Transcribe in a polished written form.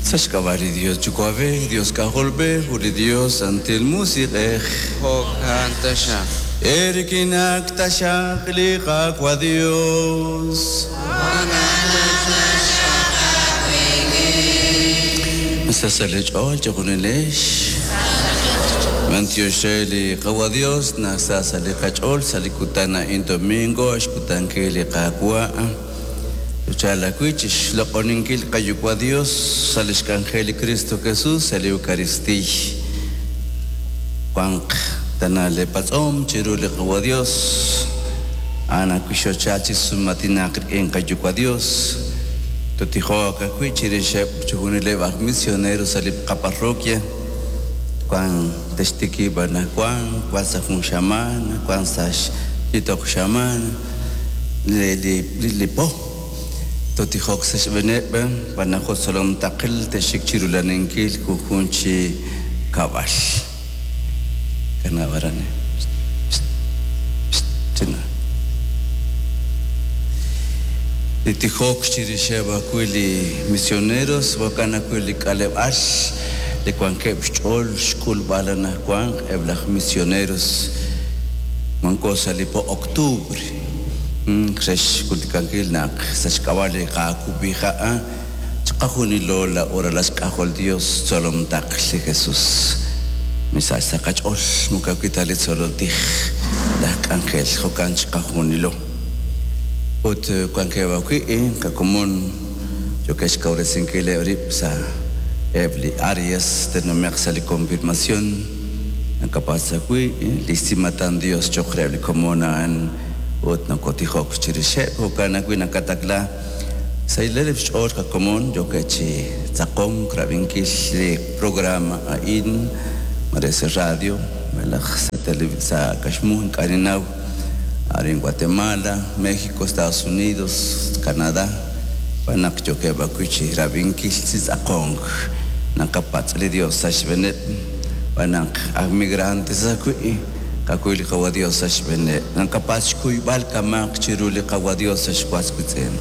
Sa' xk'ab'a' li Dios Yuwa'b'ej, Dios K'ajolb'ej, ut li Dios Santil Musiq'ej. Jo'kan taxaq. Eerik'inak taxaq li Qaawa' Dios. Sa' sa' li ch'ool chejunilex. B'antiox re li Qaawa' Dios naq sa sa' li qach'ool sa' li kutan a'in domingo xkutankil li Qaawa'. Chal ajwi' chi xloq'oninkil qaYuwa' Dios sa' lix k'anjel li Kristo Jesus sa' li Eucaristiiy. Wanq tana lee patz'om chiru li Qawa' Dios, a'an ajwi' xochal chi sum'aatinaq rik'in qaYuwa' Dios. Totijoq ajwi' chirixeb' chixjunileb' aj misionero sa' li qaparroquia, wan textikib' anajwan, wan sa' jun xamaan, wan sa' xyitoq xamaan. Li po totijok sa' xb'eeneb' b'an naq tzolom taql texik chi rulaninkil junjun chi kab'al. Kanab' aran. China. Li tijok chirixeb' ajwi' li misioneros jo'kan ajwi' li k'aleb'aal li wankeb' xch'ool xk'ulb'al anajwan eb' laj misioneros wanko sa' li po octubre. Re xk'ultikankil naq sa' xk'ab'a' li qaakub'iha' chiqajunilo la oralal xk'ajol Dios tzolom taql li Jesus. Misach sa' qach'ool moko ajwi' ta li tzolol tij laj k'anjel jo'kan chiqajunilo. Ut wankeb' ajwi' qakomon yookeb' xkawresinkileb' rib' sa' eb' li áreas te'nume'q sa' li confirmación. Nakapatz' ajwi' li xsimatan Dios cho'q reheb' li komon a'an ut nokotijok chirixeb' jo'kan ajwi' nakatakla sa' ileleb' xch'ool qakomon yookeb' chi tzaqonk rab'inkil li programa a'in mare sa' radio malaj sa' kaxmu ink'a' ninnaw arin Guatemala, México, Estados Unidos, Canadá b'an naq yookeb' ajwi' chi rab'inkil chi tz'aqonk naqapatz' li Dios sa' xb'eeneb' b'an naq aj migrantes ajwi' qak'ul li Qawa' Dios sa' xb'eeneb' naqapatz' xkuyb'al kamaq chiru li Qawa' Dios sa' xwas witz'in.